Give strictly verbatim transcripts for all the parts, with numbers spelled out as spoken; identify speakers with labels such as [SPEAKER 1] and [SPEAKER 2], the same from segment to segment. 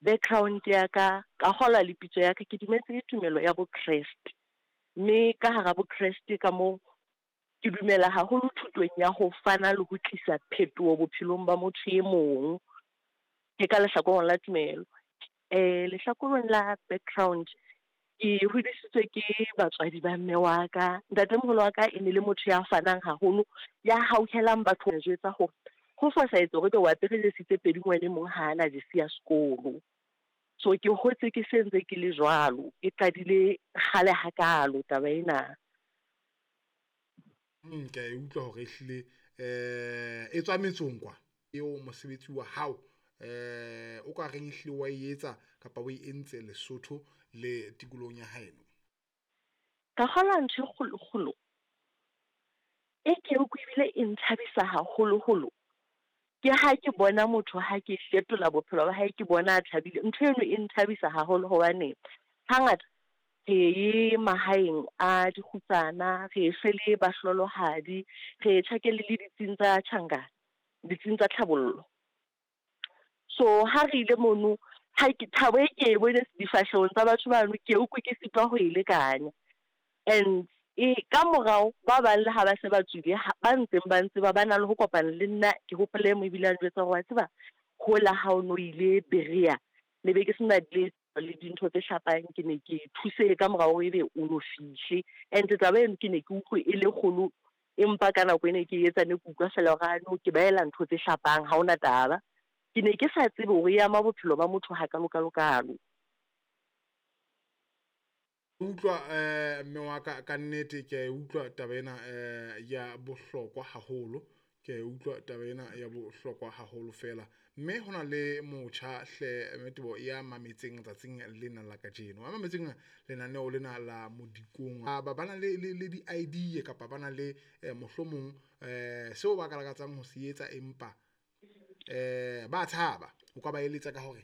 [SPEAKER 1] Background ya ka, ka kgolwa le pitso ya ka, ke dumetse tumelo ya Bokreste. Mme ka hara Bokreste ka moo, ke dumela haholo thutong ya ho fana le ho tlisa phetoho bophelong ba motho e mong. Ke ka lehlakoreng la tumelo. Eh lehlakoreng la background, ke hodisitswe ke batswadi ba mme wa ka. Ntatemoholo wa ka e ne le motho ya fanang haholo, ya hauhelang batho. Jwetsa hore ho fosahetse hore ebe o apere jesi tse pedi ngwana e mong ha ana jesi ya sekolo. So ke hotse ke se ntse ke le jwalo, e qadile kgale hakalo taba ena.
[SPEAKER 2] Mm, ke a e utlwa hore ehlile eh e tswa metsong kwa. Eo mosebetsi wa hao eh o ka reng ehlile wa e etsa kapa o e entse Lesotho le tikolohong ya haeno.
[SPEAKER 1] Ka kgolwa ntho e kgolo kgolo e ke ebile e nthabisa haholoholo, ke ha ke bona motho ha ke fetola bophelo ba hae, ke bona a thabile. Ntho eno e nthabisa haholo hobane hangata re ye mahaeng a dikgutsana, re e fe le bahlolohadi, re tjhakele le ditsing tsa tjhankana, ditsing tsa tlhabollo. So ha re ile mono, ha ke thabo e ke e bone difahlehong tsa batho bano, ke utlwe ke sitwa ho e lekanya. And e ka morao ba bang le ha ba se ba tswile, ba ntseng ba ntseba ba na le ho kopana le nna. Ke hopole e mong ebile a njwetsa hore wa tseba, hola ha o no ile Berea, ne be ke sena le le dintho tse hlapang, ke ne ke thuse ka morao hore ebe o no fihle. And taba eno ke ne ke utlwe e le kgolo, empa ka nako e ne ke etsa ne ke utlwa feela hore ano ke ba ela ntho tse hlapang, ha hona taba. Ke ne ke sa tsebe hore e ama bophelo ba motho hakalo kalo kalo.
[SPEAKER 2] Utlwa eh mme wa ka, ka nnete ke a e utlwa taba ena eh ya bohlokwa haholo. Ke a e utlwa taba ena ya bohlokwa haholo fela. Mme hona le motjha hle Mmetebo ya mametseng tsatsing lena la kajeno. A mametseng lenaneo lena la Modikong. Ba ba na le le di-idea kapa ba na le eh, mohlomong eh seo ba ka lakatsang ho se etsa, empa eh ba tshaba. O ka ba eletsa ka hore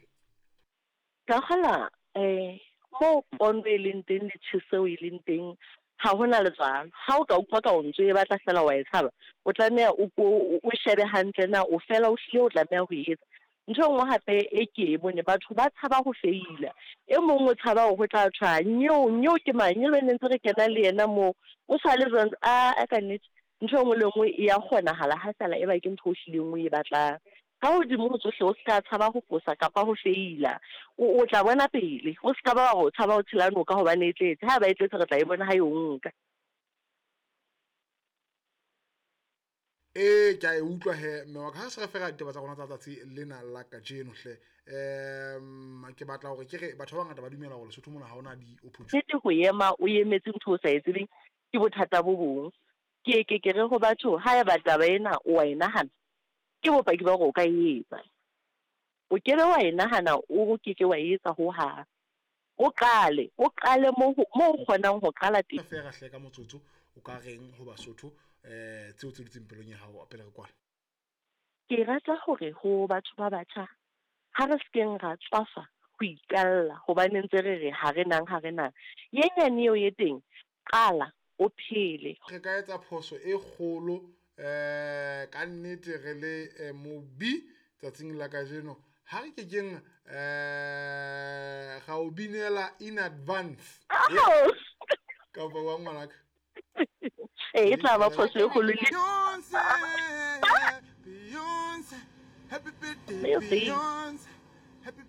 [SPEAKER 1] Ka kgola eh moo pono e leng teng le tjheseho e leng teng, ha hona letswalo. Ha o ka utlwa ka o ntso e batla fela wa e tshaba, o tlameha o ko o shebe hantle na o fela o hlile o tlameha ho e etsa. Ntho e nngwe hape e ke e bone, batho ba tshaba ho feila. E mong o tshaba hore ho tla thwa nyeo, nyeo ke mang, eo ne ntse re kena le yena moo, o sa le jwang. A ka nnete ntho e nngwe le nngwe e ya kgonahala ha feela e ba ke ntho o hlileng o e batlang. Ka hodimo ho tsohle, o ska tshaba ho fosa kapa ho feila. O, o tla bona pele. O ska ba wa re o tshaba ho tshela noka hobane e tletse. Ha ba e tletse, re tla e bona ha e o nka.
[SPEAKER 2] E ke a e utlwa he mme wa ka, ha se re fera ditaba tsa rona tsa tsatsi lena la kajeno hle. Um ke batla hore ke re batho ba bangata ba dumela hore Lesotho mona ha hona di-opportunity.
[SPEAKER 1] Nnete ho ema o emetse ntho o sa e tsebeng ke bothata bo bong. Ke ke ke re ho batho, haeba taba ena o wa e nahana, ke bopaki ba hore o ka e etsa. O kebe wa e nahana, o keke wa e etsa hohang. O qale, o qale moo moo o kgonang ho qala teng.
[SPEAKER 2] Fera hle ka motsotso, o ka reng ho Basotho eh tseo tse dutseng pelong ya hao pele re kwala?
[SPEAKER 1] Ke rata hore ho batho ba batjha, ha re sekeng ra tswafa ho iqalla hobane ntse re re ha re nang, ha re nang. Ye nyane eo e teng, qala o phele.
[SPEAKER 2] Re ka etsa phoso e kgolo eh ka nnete re le mobi tsatsing la kajeno, ha re kekeng eh ga o binela in advance. Kapa wa ngwanaka.
[SPEAKER 1] E tla ba phoso e kgolo le
[SPEAKER 3] Beyonce, Beyonce, happy birthday, Beyonce, happy